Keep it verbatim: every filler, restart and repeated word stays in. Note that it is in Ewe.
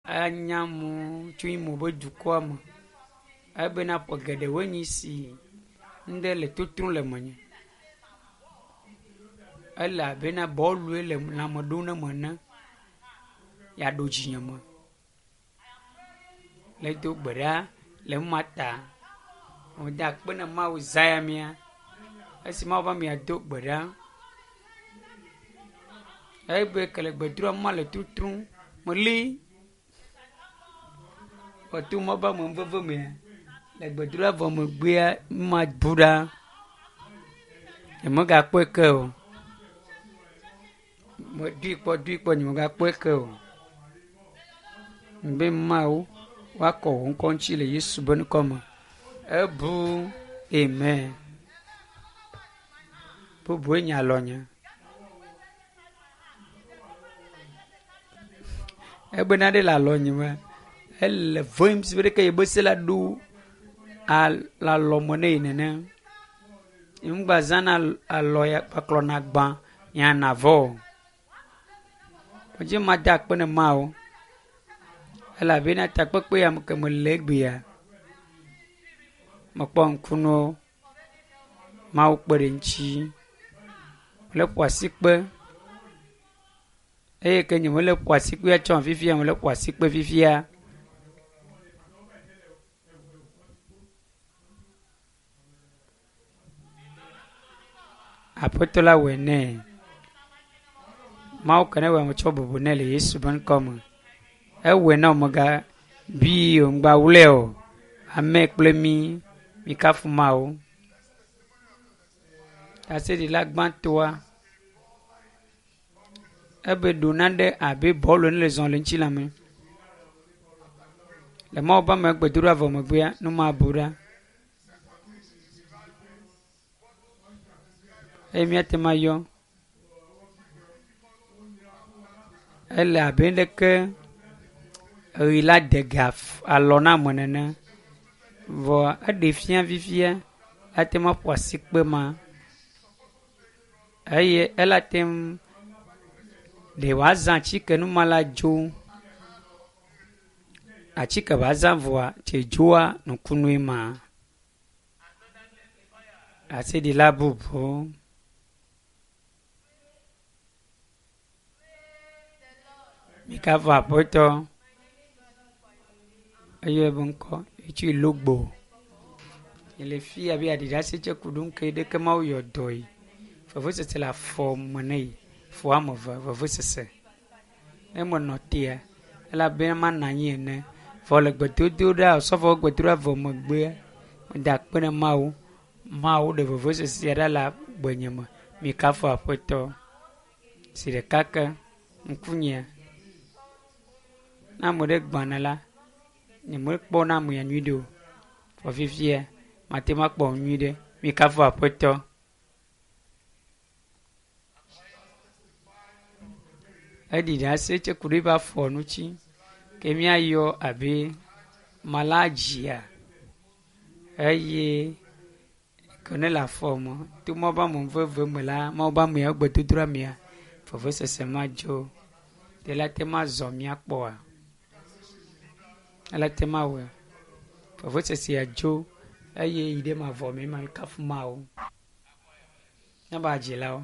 Enya mu tso Imo be dukɔa me. Ebena ƒe geɖewoe nye si ŋɖe le totro le menye. Ele abena bɔlue le lãme ɖo ne me ene. Yeaɖo dzinye me. Le do gbe ɖa le numa ta. Meda akpe ne Mawu zã ya mea. Esi Mawu be amea do gbe ɖa. Egbe ke le gbedoɖa ma le tutrum meli kɔto mɔ be ame veve mea le gbedoɖa vɔ megbea numa bu ɖa. Nyemegakpɔe ke o. Medoe kpɔ doe kpɔ nyemegakpɔe ke o. Be Mawu woakɔ wò ŋkɔ ŋuti le Yesu be ŋkɔ me. Ebu amen. Bubue nye alɔnye. Egbena ɖe le alɔnye me. Ele vem si be ɖeke yi be se la ɖo le alɔme ne yi nene. Ŋgba zãna alɔ ya kpaklɔna gbã nyana vɔ o. Medze ma da akpe ne Mawu elabena takpekpe ya me ke mele egbea mekpɔ ŋkunuwo. Mawu kpe ɖe ŋuti. Mele ƒo asikpe eye ke nye mele ƒo asikpea tsɔ fifia mele ƒo asikpe fifia. Aƒetɔ la wɔe nɛ. Mawu ke ne wɔe metsɔ bubu nɛ le Yesu be ŋkɔ me. Ewɔe na wo mega bi o ŋgba wlɔe o. Ame kple mi mikafu Mawu. Ɖaseɖila gbãtɔa ebe ɖo nane abe bɔlu ene le zɔm le ŋutilã me. Le Mawu be ame gbedoɖa vɔ megbea nu ma bu ɖa. Eye míate ŋu ayɔ. Ele abe leke ɣi la de ga alɔ na ame nene. Vɔ eɖe fia fifia ate ŋu aƒo asikpe ma eye ele te ŋu ɖe wòazã atike numa la dzo. Atike wòazã vɔa tse dzoa nukunue ma. Ɖaseɖila bubu. Mikafu Aƒetɔ. Eye be ŋkɔ etso Logbo. Le fi abe aɖiɖase tse ku ɖo ŋke ɖeke Mawu yɔ dɔe. Vevesese le afɔ me ne yi. Fɔ woame eve vevesese. Ne menɔ tea, elabena manɔ anyi ene. Vɔ le gbedodoɖa osɔfo gbedoɖa vɔ megbea, meda akpe ne Mawu. Mawu ɖe vevesesea ɖa le gbenye me. Mikafu Aƒetɔ. Si ɖeka ke ŋkunyea. Ne ame ɖe gbãna la, nyemekpɔna amea nyuiɖe o. Vɔ fifia, mate ŋu akpɔ nyuiɖe. Mikafu Aƒetɔ. Eɖi ɖase tse ku ɖe eƒe afɔ ŋuti ke míayɔ abe maladzia eye ke ne le afɔ me to Mawu be ame veve me la Mawu be ameawo gbedodoɖa mea vevesese ma dzo. Ɖe la te ŋu azɔ míakpɔa? Ele te ŋu awɔe. Vevesesea dzo eye yi ɖe mavɔ me ma kafu Mawu. Míabe hadzilawo.